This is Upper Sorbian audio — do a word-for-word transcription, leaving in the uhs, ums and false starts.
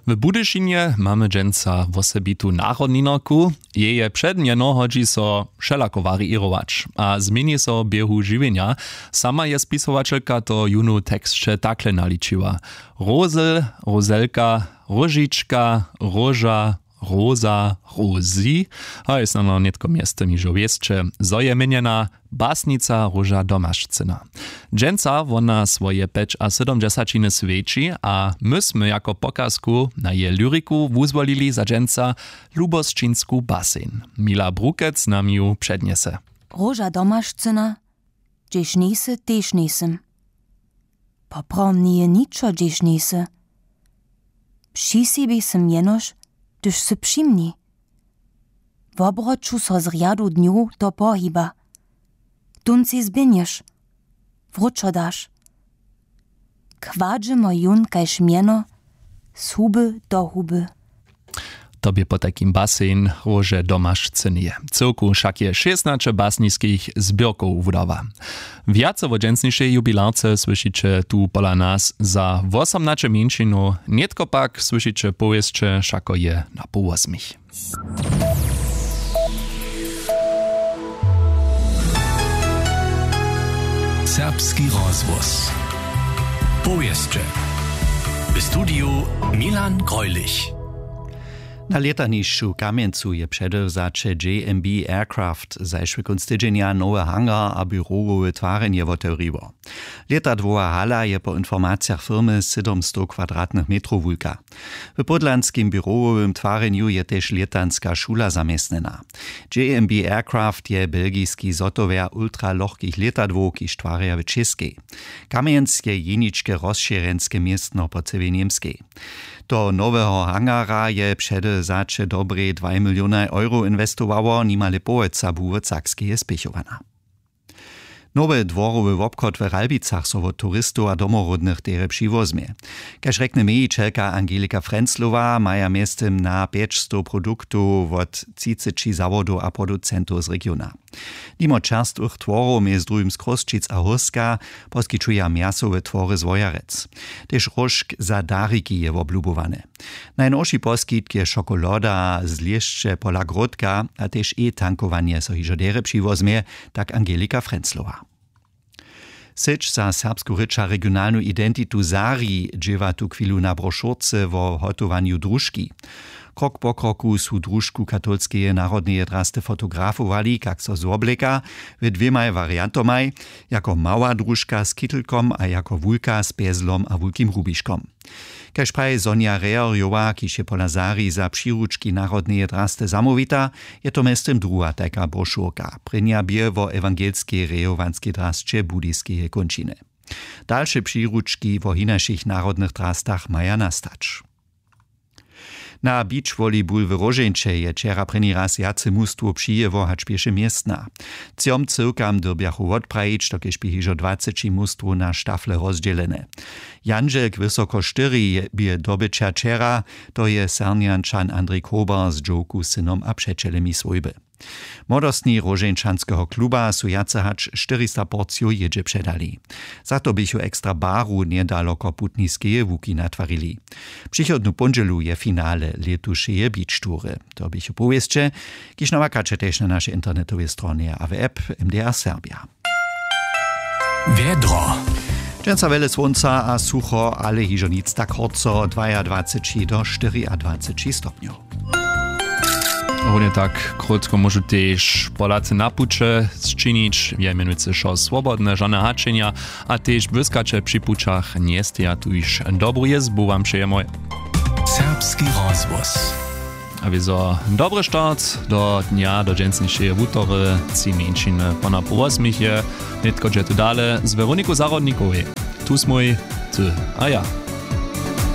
W Budyšinje mamy dźensa wosebitu narodninarku. Jeje předmjeno hodźi so wšelako wariěrować a změni so w běhu žiwjenja. Sama je spisowaćelka to jónu teksće takle naličiła: Rozel, Rozelka, Róžička, Róža, Roza, Rozi. Haj, snano nětko mjeztym hižo wěsće, zo je měnjena basnica Róža Domašcyna. Dźensa wona swoje pjećasydomdźesaćiny swjeći a my smy jako pokazku na jeje lyriku wuzwolili za dźensa Lubosćinsku baseń. Mila Brukec nam ju přednjese. Róža Domašcyna, hdźež njejsy, tež njejsym. Poprawom njeje ničo, hdźež njejsy. Při sebje sym jenož, hdyž sy při mni. W obroću so z rjadu dnjow to pohiba. Tón sej zběhnješ, wróćo daš. Kładźemo jón kaž mjeno z huby do huby. To bě potajkim baseń Róže Domašcyneje. Cyłku wšak je šěsnaće basniskich zběrkow wudała. Wjace wo dźensnišej jubilarce słyšiće tu pola nas za wosomnaće mjeńšinow, nětko pak słyšiće powěsće Wšako je na połosmich. Serbski rozhłos. Powěsće. W studiju Milan Greulich. Na lětanišću w Kamjencu je předewzaće J M B Aircraft zašły kónc tydźenja nowy hangar a běrowowe twarjenje wotewriło. Lětadłowa hala je po informacijach firmy sydomstow kwadratnych metrow wulka. W pódlanskim běrowowym twarjenju je tež lětanska šula zaměstnjena. J M B Aircraft je belgiski zhotowjer ultralochkich lětadłow, kiž twarja w Čěskej. Kamjenc je jeničke rozšěrjenske městno po cyłej Němskej. Do noweho hangara je předewzaće dobrej dwaj milionaj euro inwestowało, nimale połojca bu wot Sakskeje spěchowana. Nowy dworowy wobchod w Ralbicach so wot turistow a domoródnych derje přiwozmje. Kaž rjekny mějićelka Angelika Frenzlowa, maja mjeztym na pjećstow produktow wot třiceći zawodow a producentow z regiona. Nimo čerstwych tworow mjez druhim z Chrósćic a Hórska poskićuja mjasowe twory z Wojerec. Tež róžk za dariki je woblubowany. Najnowši poskitk je šokoloda z lěšće pola Gródka a tež e-tankowanje so hižo derje přiwozmje, tak Angelika Frenzlowa. Syć za serbsku rěč a regionalnu identitu Zari dźěła tuchwilu na brošurce wo hotowanju družki. Krok po kroku su družku katolskeje narodneje drasty fotografowali, kak so zwobleka, w dwěmaj wariantomaj, jako mała družka z kitelkom a jako wulka z pjezlom a wulkim rubiškom. Kaž praji Sonja Reherjowa, kiž je pola Zari za přiručki narodneje drasty zamołwita, je to mjeztym druha tajka brošurka. Prěnja bě wo ewangelskej rejowanskej drasće budiskeje kónčiny. Dalše přiručki wo hinašich narodnych drastach maja nastać. Na beach volleyball w Róžeńće je wčera prěni raz wjace mustwow přijěło hač pěše městna. Třom cyłkam dyrbjachu wotprajić, dokelž bě hižo dwaceći mustwow na štafle rozdźělene. Jandźelk wysoko štyri bě dobyća wčera, to je Sernjančan Andrej Kober z dźowku, synom a přećelemi swójby. Młodostni Róžeńčanskeho kluba su wjace hač štyrista porcijow jědźe předali. Za to běchu ekstra baru njedaloko putniskeje łuki natwarili. Přichodnu póndźelu je finale lětušeje beach toury. To běchu powěsće, kiž nawakaće tež na našej internetowej stronje a w app M D R Serbia. Wjedro. Dźensa wjele słónca a sucho, ale hižo nic tak horco, dwajadwaceći do štyriadwaceći stopnjow. Runje tak krótko móžu tež Polacy na puće sčinić, je mjenujcy wšo swobodne, žane hačenja a tež błyskaće při pućach njesteja, tuž dobru jězbu wam přejemoj. Serbski rozhłos. A wězo dobry start do dnja, do dźensnišeje wutory, tři mjeńšiny po na pół wosmich je, nětko dźe tu dale z Weroniku Zahrodnikowej. Tu smój, ty a ja.